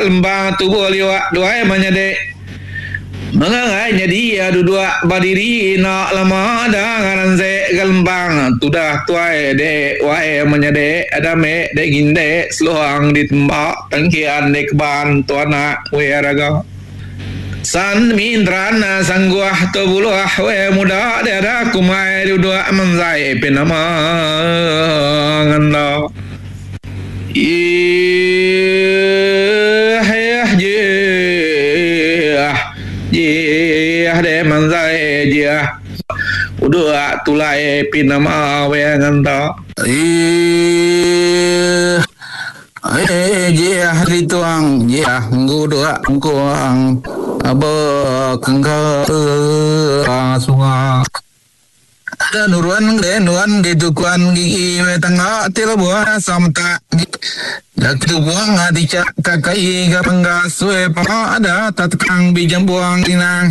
lembang tubuh liwak duai menyadi. Mengangai nyadi iya duduk badiri enda lama da ngaran sek ga lembang tudah tuai dek wai menyadi dame dek ngindek seluang ditembak tengkian dek keban tu anak wei raga. San Mintran sangguh tu buluh wei muda dek ada kumbai duduk menzai pinama ngenda. Ih ih jih jih deh manzai jih uduk tulai pin nama weh ngenta. Ih ih jih dituang jih nguduk engkuang bekengka sunga. Ada nurun ge nuan di tukuan gigi we tangga ti lebuh samtak Datu buang ati cak kakai ga penggas we pama ada tatkang bijambuang inang.